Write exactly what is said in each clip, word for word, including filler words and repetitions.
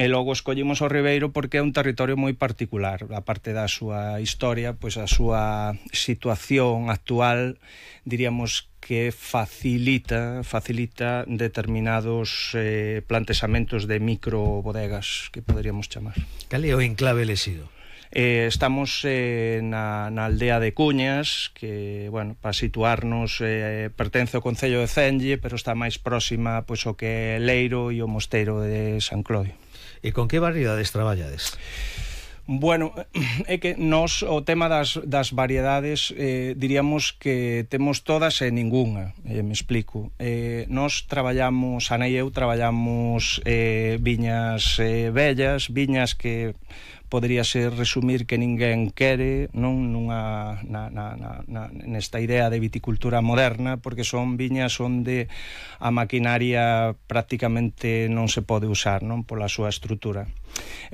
E logo escollimos o Ribeiro porque é un territorio moi particular, a parte da súa historia, pois a súa situación actual, diríamos que facilita facilita determinados eh, plantexamentos de microbodegas, que poderíamos chamar. Cal é o enclave elexido? Eh, estamos eh, na, na aldea de Cuñas, que, bueno, para situarnos, eh, pertence ao concello de Cenlle, pero está máis próxima pois o que é Leiro e o mosteiro de San Clodio. E con que variedades traballades? Bueno, é que nós o tema das, das variedades eh, diríamos que temos todas e ningunha, eh, me explico. Eh, nós traballamos, Ana e eu traballamos eh, viñas eh, vellas, viñas que podería ser resumir que ninguén quere, non nunha na, na, na, na, nesta idea de viticultura moderna, porque son viñas onde a maquinaria prácticamente non se pode usar, non, pola súa estrutura.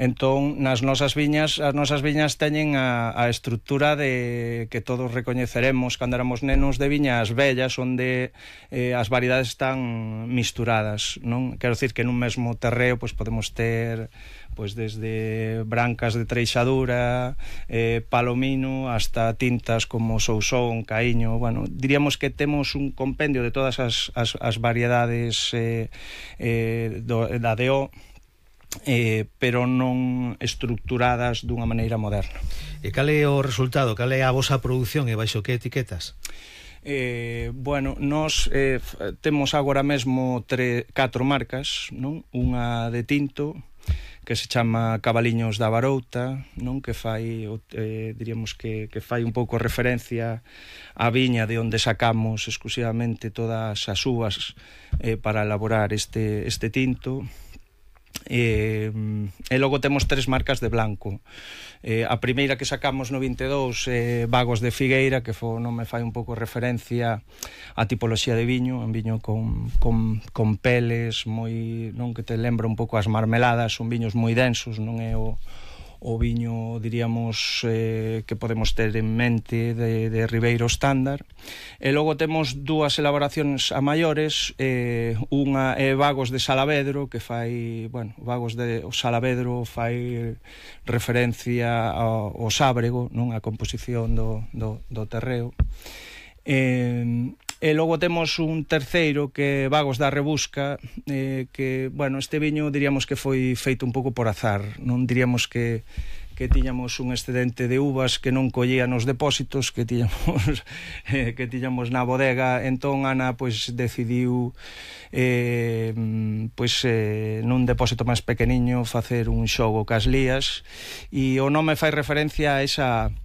Entón, nas nosas viñas, as nosas viñas teñen a, a estrutura de que todos recoñeceremos cando éramos nenos, de viñas vellas onde eh, as variedades están misturadas, non? Quero dicir que nun mesmo terreo pois podemos ter pois desde brancas de treixadura, eh, palomino, hasta tintas como sousón, caíño. Bueno, diríamos que temos un compendio de todas as, as, as variedades eh, eh, do, da D O, eh, pero non estructuradas dunha maneira moderna. E cal é o resultado? Cal é a vosa produción e baixo que etiquetas? Eh, bueno, nós eh, temos agora mesmo tre, catro marcas, non? Unha de tinto, que se chama Cabaliños da Barouta, non, que fai eh, diríamos que, que fai un pouco referencia á viña de onde sacamos exclusivamente todas as uvas eh, para elaborar este, este tinto. E, e logo temos tres marcas de blanco. Eh, a primeira que sacamos no vinte e dous, eh, Vagos de Figueira, que fo, non me fai un pouco referencia á tipoloxía de viño, un viño con, con, con peles moi, non, que te lembra un pouco as marmeladas, son viños moi densos, non é o o viño, diríamos, eh, que podemos ter en mente de, de Ribeiro estándar. E logo temos dúas elaboracións a maiores, eh, unha é Vagos de Salavedro, que fai, bueno, Vagos de o Salavedro fai referencia ao, ao sábrego, non, a composición do, do, do terreo. Eh, e logo temos un terceiro que é Vagos da Rebusca, eh, que, bueno, este viño diríamos que foi feito un pouco por azar, non diríamos que que tiñamos un excedente de uvas que non collía nos depósitos que tiñamos eh, que tiñamos na bodega. Entón Ana pois decidiu eh, pois eh, nun depósito máis pequeniño facer un xogo cas lías, e o nome fai referencia a esa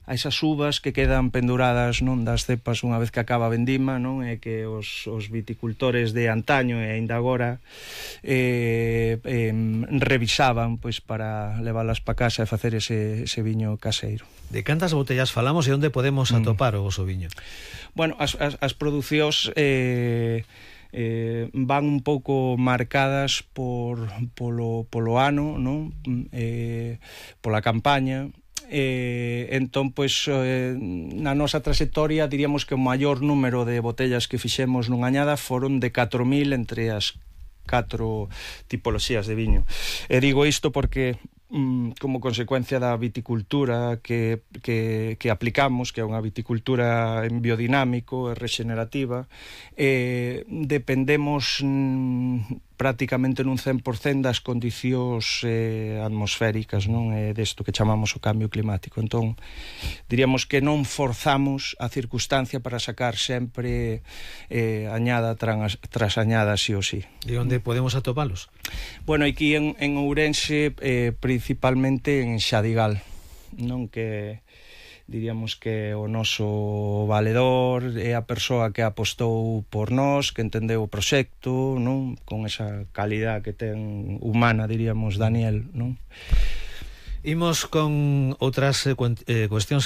a esas uvas que quedan penduradas, non, das cepas unha vez que acaba a vendima, non, e que os, os viticultores de antaño e aínda agora eh, eh, revisaban pois para leválas para casa e facer ese, ese viño caseiro. De cantas botellas falamos e onde podemos atopar mm. o voso viño? Bueno, as, as, as producións eh, eh, van un pouco marcadas por polo, polo ano, non, eh, pola campaña. Eh, entón, pois, eh, na nosa trayectoria diríamos que o maior número de botellas que fixemos nunha añada foron de catro mil entre as catro tipoloxías de viño. E digo isto porque como consecuencia da viticultura que, que, que aplicamos, que é unha viticultura en biodinámico e regenerativa, eh, dependemos mm, prácticamente nun cen por cento das condicións eh, atmosféricas, non, eh, desto que chamamos o cambio climático. Entón, diríamos que non forzamos a circunstancia para sacar sempre eh, añada tras, tras añada, sí ou sí. E onde podemos atopalos? Bueno, aquí en, en Ourense, eh, principalmente en Xadigal, non, que diríamos que o noso valedor é a persoa que apostou por nós, que entendeu o proxecto, non, con esa calidad que ten humana, diríamos, Daniel, non? Imos con outras eh, cuestións